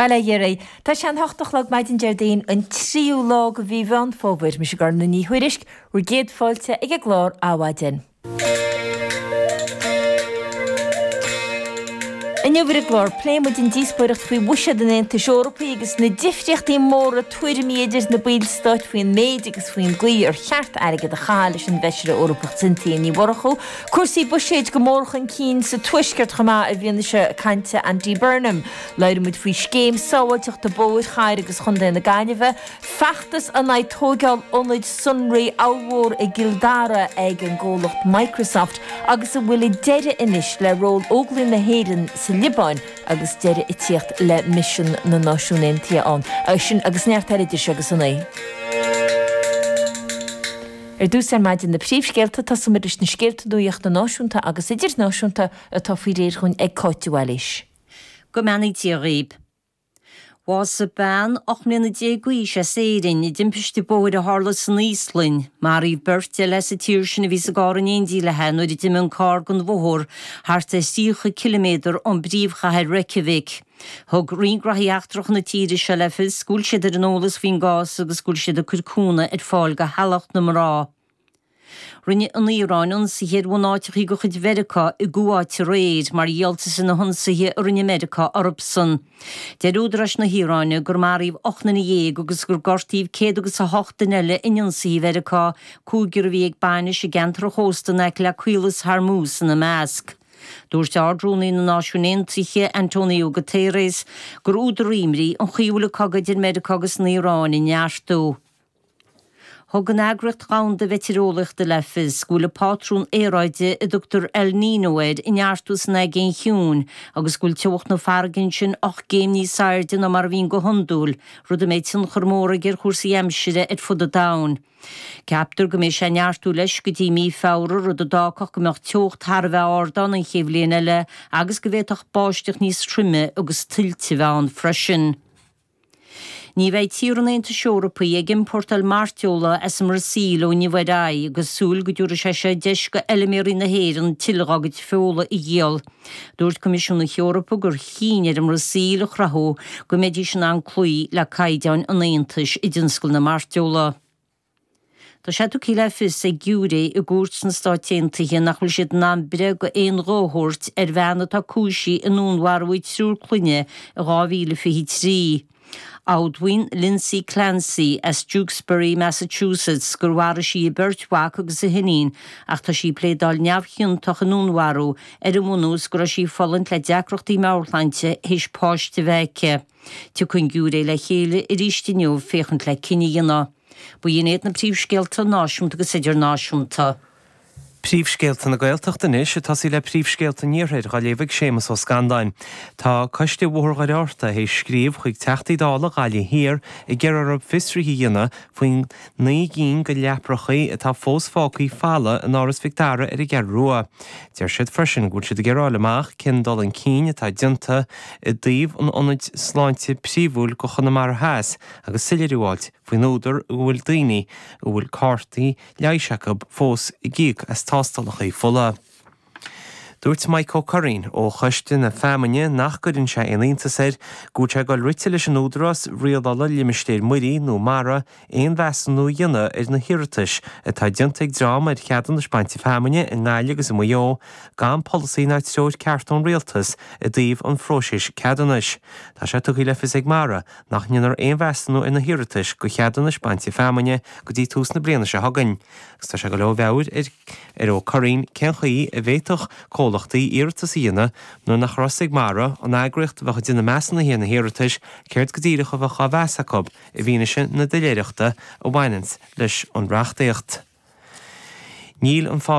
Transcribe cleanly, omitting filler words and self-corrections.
Bail ó Dhia oraibh. Tá sé an hocht a chlog maidin Déardaoin an tríú lá de mhí Mheán Fómhair. Mise Gormfhlaith Ní Thuairisg, bhur gcéad fáilte ag an gclár Adhmhaidin. Inniu ar an gclár, pléifidh muid an díospóireacht faoi bhuiséad an Aontais Eorpaigh agus na difríochtaí móra tuairimí idir na ballstáit faoin méid agus faoin gcaoi ar cheart airgead a chaitheamh leis an bhFeisire Eorpach Cynthia Ní Mhurchú. Cúrsaí buiséid go mór chun cinn sa Tuaisceart chomh maith i bhfianaise cainte Andy Burnham. Labhróidh muid faoi scéim sábháilteachta bóthair chathair agus chontae na Gaillimhe, Feachtas in aghaidh tóigeáil ionaid sonraí ollmhór i gCill Dara ag an gcomhlacht Microsoft agus an bhfuil deireadh anois le ról Óglaigh na hÉireann sa Liobáin agus deireadh ag tíocht le misean na Náisiún Aontaithe ann. Sin agus neart eile idir seo agus a naoi. Ar dtús ar maidin na príomhscéalta, tosóimid leis na scéalta nuachta náisiúnta agus idirnáisiúnta atá faoi réir dhúinn ag Cáit de Bhailís. Go mbeannaí Dia dhaoib. Bhásaigh bean 18 mbliana d'aois as Éirinn i dtimpiste bóthair a tharla san Íoslainn. Maraíodh beirt eile as an tír sin a bhí sa gcarr in éindí léi nuair a d'imigh an carr den bhóthar thart ar 30 ciliméadar ón bpríomhchathair Reykjavik. Thug Roinn Gnóthaí Eachtracha na tíre seo le fios go bhfuil siad ar an eolas faoin gcás agus go bhfuil siad ag cur cúnamh ar fáil do theaghlach na mná. Rinne an Iaráin ionsaithe ar bhunáiteachaí de chuid Mheiriceá i gCuáit aréir mar dhíoltas ar na hionsaithe a rinne Meiriceá orthusan. Deir údaráis na hIaráine gur maraíodh 18 nduine agus gur gortaíodh 108 duine eile in ionsaithe Mheiriceá, cúigear a bhí ag bainis i gceantar an chósta in aice le Caolas Hormuz ina measc. Dúirt Ard-Rúnaí na Náisiún Aontaithe, Antonio Guterres, gur údar imní an chaoi a bhfuil an cogadh idir Meiriceá agus an Iaráin ag neartú. Thug an Eagraíocht Dhomhanda Mheitéareolaíochta le fios go bhfuil an pátrún aeráide a dtugtar El Niño air ag neartú san Aigéan Chiúin agus go bhfuil teocht na farraige ansin 8 gcéim níos airde ná mar a bhíonn go hiondúil, rud a mbeidh tionchar mór aige ar chúrsaí aimsire ar fud an domhain. Ceaptar go mbeidh sé ag neartú leis go dtí mí Feabhra, rud a d'fhágfadh go mbeadh teocht thar a bheith ard ann an chéad bhliain eile agus go bhféadfadh báisteach níos troime agus tuilte a bheith ann freisin. Ní bheidh tíortha an Aontais Eorpaigh ag iompórtáil mairteola as an mBrasaíl ó inniu ar aghaidh agus súil go dtabharfaidh sé seo deis go fheilméaraí na hÉireann tuilleadh dá gcuid feola a dhíol. Dúirt Coimisiún na hEorpa gur chinn ar an mBrasaíl a chruthú go mbeidís in ann cloí le caighdeáin an Aontais i dtionscal na mairteola. Tá sé tugtha le fios ag giúiré i gcúirt sna Stáit Aontaithe nach bhfuil siad in ann breith d'aon ghuth a thabhairt ar bhean atá cúisithe i ndúnmharú a triúr clainne i 2023. Admhaíonn Lindsay Clancy as Duxbury, Massachusetts gur mharaigh sí a beirt mhac agus a hiníon ach tá sí ag pléadáil neamhchiontach i ndúnmharú ar an mbunús go raibh sí ag fulaingt le deacrachtaí meabhairshláinte théis páiste a bheith aici. Tiocfaidh an giúiré le chéile arís inniu féachaint le cinneadh a dhéanamh. Ba shin iad na príomhscéalta náisiúnta agus idirnáisiúnta. Príomhscéalta na Gaeltachta anois, ag tosaí le príomhscéalta an Iarthair, dhá léamh ag Séamus Ó Scanláin. Tá Coiste Bhóthar Dhoire Fhatharta théis scríobh chuig Teachtaí Dála Ghaillimh Thiar ag iarraidh orthu fiosruithe a dhéanamh faoin 9 gcinn de leaprachaí atá fós fágthaí folamh in Áras Mhic Dara ar an gCeathrú Rua. Deir siad freisin go bhfuil siad ag iarraidh a fháil amach cén dul chun cinn atá déanta i dtaobh an ionaid sláinte príomhúil do Chonamara Theas agus soiléiriú a fháilt faoin údar go bhfuil daoine a bhfuil cártaí leighis acu fós ag íoc as tástálacha fola. Dúirt Mike Ó Curraoin ó Choiste na Feamainne nach gcuireann sé aon iontas air go bhfuil sé ag dul rite leis an Údarás Rialála Limistéir Muirí nó Mara aon mheasúnú a dhéanamh ar na hiarratais atá déanta ag dream ar cheadúnais bainte feamainne i nGaillimh agus i Maigh Eo gan polasaí ná treoir ceart ón Rialtas i dtaobh an phróisis ceadúnais. Tá sé tugtha le fios ag Mara nach ndéanfar aon mheasúnú ar na hiarratais do cheadúnais bainte feamainne go dtí tús na bliana seo chugainn agus tá sé ag dul ó mheabhair ar ar Ó Curraoin cén chaoi a bhféadfadh comhlachtaí iarratas a dhéanamh nuair nach raibh a fhios ag Mara, an eagraíocht a bheadh ag déanamh measúnaithe ar na hiarratais, céard go díreach a bheadh á mheas acu i bhfianaise na doiléireachta a bhaineanns leis an reachtaíocht. Níl an fás.